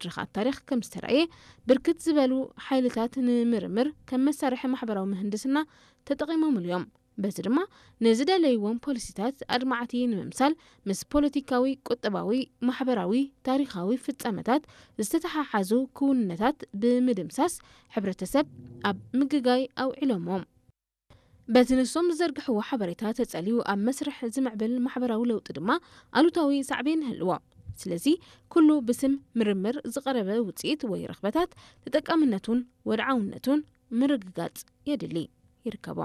ድርኻት ታሪኽ ከም ዝተራእየ፣ ብርክት ዝበሉ ሓይልታት ንምርምር ከም መሳርሒ ማሕበራዊ ምህንድስና ተጠቒሞምሉ እዮም። በዚ ድማ ንዝደለይዎም ፖሊሲታት ኣድማዕቲ ንምምሳል፣ ምስ ፖለቲካዊ፣ ቁጠባዊ፣ ማሕበራዊ፣ ታሪኻዊ ፍጻመታት ዝተተሓሓዙ ክውንነታት ብምድምሳስ፣ ሕብረተሰብ ኣብ ምግጋይ ኣውዒሎምዎም። በቲ ንሶም ዝዘርግሕዎ ሓበሬታ ተጸልዩ ኣብ መስርሕ ዝምዕብል ማሕበራዊ ለውጢ ድማ ኣሉታዊ ሳዕቤን ይህልዎ። ስለዚ፣ ኩሉ ብስም ምርምር ዝቐረበ ውጽኢት ወይ ረኽበታት ተጠቃምነቱን ወድዓውነቱን ምርግጋጽ የድሊ። ይርከቦ።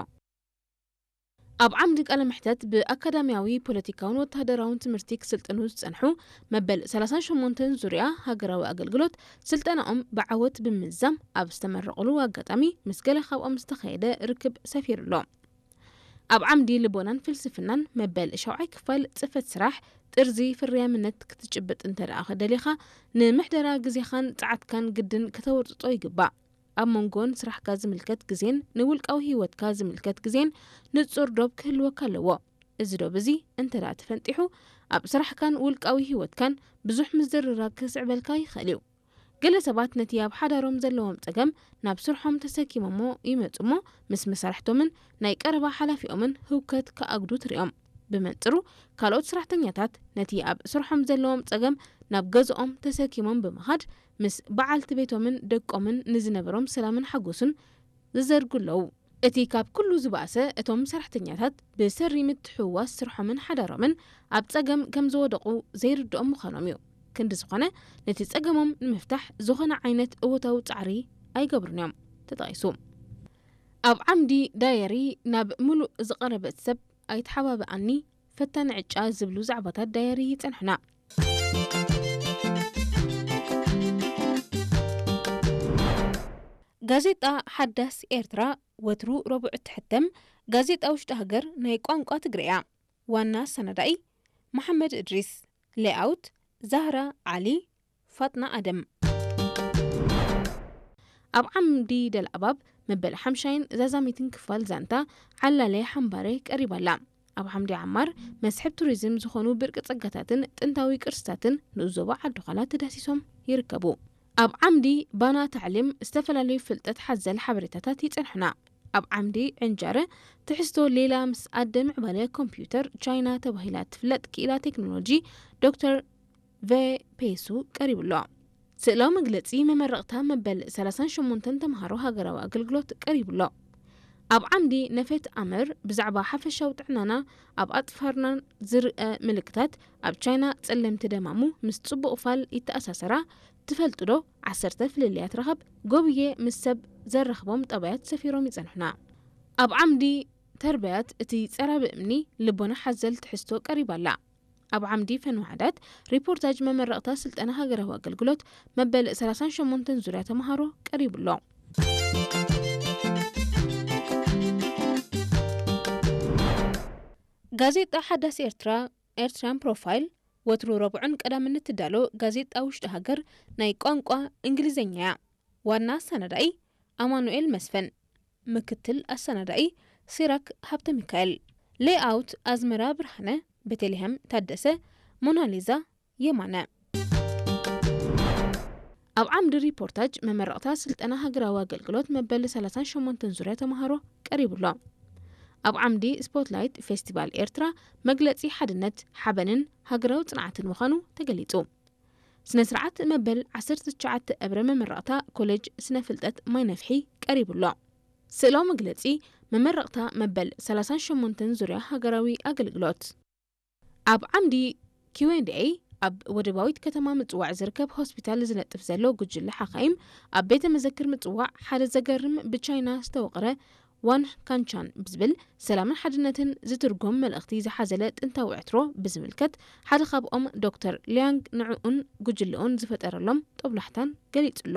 ኣብ ዓምዲ ቃለ መሕተት ብኣካዳሚያዊ፣ ፖለቲካውን ወተሃደራውን ትምህርቲ ክስልጥኑ ዝጸንሑ መበል ሰላሳን ሸሞንተን ዙርያ ሃገራዊ ኣገልግሎት ስልጠናኦም ብዓወት ብምዝዛም ኣብ ዝተመረቑሉ ኣጋጣሚ ምስ ገለ ካብኦም ዝተኻየደ ርክብ ሰፊሩ ኣሎ። ኣብ ዓምዲ ልቦናን ፍልስፍናን መበል ሻውዓይ ክፋል ጽፈት ስራሕ ጥርዚ ፍርያምነት ክትጭብጥ እንተ ደኣ ደሊኻ ንምሕደራ ግዜኻን ጸዓትካን ግድን ከተወርጽጾ ይግባእ። ኣብ መንጎን ስራሕካ ዝምልከት ግዜን ንውልቃዊ ህይወትካ ዝምልከት ግዜን ንጹር ዶብ ክህልወካ ኣለዎ። እዚ ዶብ እዚ እንተ ደኣ ተፈንጢሑ፣ ኣብ ስራሕካን ውልቃዊ ህይወትካን ብዙሕ ምዝርራግ ክስዕበልካ ይኽእል እዩ። ገለ ሰባት ነቲ ኣብ ሓዳሮም ዘለዎም ጸገም ናብ ስርሖም ተሰኪሞሞ ይመጹ እሞ፣ ምስ መሳርሕቶምን ናይ ቀረባ ሓላፊኦምን ህውከት ክኣግዱ ትርእዮም። ብመንጽሩ፣ ካልኦት ሰራሕተኛታት ነቲ ኣብ ስርሖም ዘለዎም ጸገም ናብ ገዝኦም ተሰኪሞም ብምኻድ፣ ምስ በዓልቲ ቤቶምን ደቆምን ንዝነበሮም ሰላምን ሓጎስን ዝዘርጉ ኣለዉ። እቲ ካብ ኩሉ ዝበኣሰ፣ እቶም ሰራሕተኛታት ብሰሪ ምትሕውዋስ ስርሖምን ሓዳሮምን ኣብ ጸገም ከም ዝወደቑ ዘይርድኦም ምዃኖም እዩ። ክንዲ ዝኾነ፣ ነቲ ጸገሞም ንምፍታሕ ዝኾነ ዓይነት እወታዊ ጻዕሪ ኣይገብሩን እዮም። ተጠቒሱ። ኣብ ዓምዲ ዳየሪ፣ ናብ ምሉእ ዝቐረበት ሰብ ኣይተሓባብኣኒ፣ ፈታኒ ዕጫ ዝብሉ ዛዕባታት ዳየሪ ይጸንሑና። ጋዜጣ ሓዳስ ኤርትራ፣ ወትሩ ረቡዕ እትሕተም ጋዜጣ ውሽጢ ሃገር ናይ ቋንቋ ትግርኛ። ዋና ኣሰናዳኢ መሓመድ እድሪስ። ሌኣውት ዛህራ ዓሊ፣ ፋጥና ኣደም። ኣብ ዓምዲ ደልኣባብ መበል ሓምሻይን ዛዛሚትን ክፋል ዛንታ ዓላለ ሓምባረ ቀሪባ ኣላ። ኣብ ዓምዲ ዓማር መስሕብ ቱሪዝም ዝኾኑ ብርቂ ጸጋታትን ጥንታዊ ቅርስታትን ንኡስ ዞባ ዓዲ ዃላ ተዳሲሶም ይርከቡ። ኣብ ዓምዲ ባና ታዕሊም ዝተፈላለዩ ፍልጠት ሓዘል ሓበሬታታት ይጸንሑና። ኣብ ዓምዲ ዕንጃረ ትሕዝቶ ሌላ ምስ ኣደ ምዕባለ ኮምፒውተር ቻይና ተባሂላ ትፍለጥ ክኢላ ቴክኖሎጂ ዶክተር ቨ ፔሱ ቀሪቡ ኣሎ። ስእላዊ መግለጺ መመረቕታ መበል ሰላሳን ሸሞንተን ተምሃሮ ሃገራዊ ኣገልግሎት ቀሪቡ ኣሎ። ኣብ ዓምዲ ነፈት ኣምር ብዛዕባ ሓፈሻዊ ጥዕናና ኣብ ኣጽፋርናን ዝርአ ምልክታት ኣብ ቻይና ጸለምቲ ደማሙ ምስ ጽቡቕ ፋል ይተኣሳሰራ ትፈልጡ ዶ? ዓሰርተ ፍልልያት ረኸብ ጎብየ ምስ ሰብ ዘራኽቦም ጠባያት ሰፊሮም ይጸንሑና። ኣብ ዓምዲ ተርበያት እቲ ጸራቢ እምኒ ልቦና ሓዘል ትሕዝቶ ቀሪባ ኣላ። ኣብ ዓምዲ ፈን ዋሕዳት ሪፖርታጅ መመረቕታ ስልጠና ሃገራዊ ኣገልግሎት መበል ሰላሳን ሸሞንተን ዙርያ ተምሃሮ ቀሪቡ ኣሎ። ጋዜጣ ሓዳስ ኤርትራ፣ ኤርትራን ፕሮፋይል፣ ወትሩ ረቡዕን ቀዳምን እትዳሎ ጋዜጣ ውሽጢ ሃገር ናይ ቋንቋ እንግሊዝኛ እያ። ዋና ኣሰናዳኢ ኣማኑኤል መስፍን፣ ምክትል ኣሰናዳኢ ሲራክ ሃብተ ሚካኤል፣ ሌኣውት ኣዝመራ ብርሃነ፣ ቤተልሔም ታደሰ፣ ሞናሊዛ የማነ። ኣብ ዓምዲ ሪፖርታጅ መመረቕታ ስልጠና ሃገራዊ ኣገልግሎት መበል ሰላሳን ሸሞንተን ዙርያ ተምሃሮ ቀሪቡ ኣሎ። ኣብ ዓምዲ ስፖትላይት ፌስቲቫል ኤርትራ መግለጺ ሓድነት፣ ሓበንን ሃገራዊ ጽንዓትን ምዃኑ ተገሊጹ። ስነ ስርዓት መበል ዓሰርተ ትሽዓተ እብረ መመረቕታ ኮሌጅ ስነ ፍልጠት ማይ ነፍሒ ቀሪቡ ኣሎ። ስእላዊ መግለጺ መመረቕታ መበል ሰላሳን ሸሞንተን ዙርያ ሃገራዊ ኣገልግሎት። ኣብ ዓምዲ ኪው ኤንድ ኤይ ኣብ ወደባዊት ከተማ ምጽዋዕ ዝርከብ ሆስፒታል ዝነጥፍ ዘሎ ጉጅለ ሓኻይም ኣብ ቤተ መዘክር ምጽዋዕ ሓደ ዘገርም ብቻይና ዝተወቕረ ዋን ካንቻን ብዝብል ሰላምን ሓድነትን ዝትርጎም መልእኽቲ ዝሓዘለ ጥንታዊ ዕትሮ ብዝምልከት ሓደ ካብኦም ዶክተር ሊያንግ ንዕኡን ጉጅልኡን ዝፈጠረሎም ጦብላሕታን ገሊጹ ኣሎ።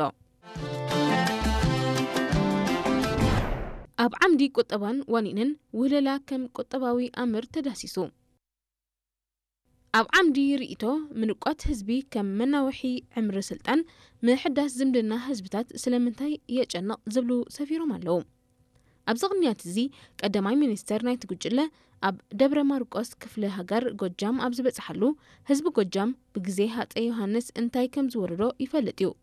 ኣብ ዓምዲ ቁጠባን ዋኒንን ውህለላ ከም ቁጠባዊ ኣምር ተዳሲሱ። ኣብ ዓምዲ ርእይቶ ምንቋት ህዝቢ ከም መናውሒ ዕምሪ ስልጣን፣ ምሕዳስ ዝምድና ህዝብታት ስለምንታይ የጨንቕ ዝብሉ ሰፊሮም ኣለዉ። ኣብዚ ቅንያት እዚ ቀዳማይ ሚኒስተር ናይቲ ጉጅለ ኣብ ደብረ ማርቆስ ክፍለ ሃገር ጎጃም ኣብ ዝበጽሓሉ፣ ህዝቢ ጎጃም ብግዜ ሃጸይ ዮሃንስ እንታይ ከም ዝወረዶ ይፈልጥ እዩ።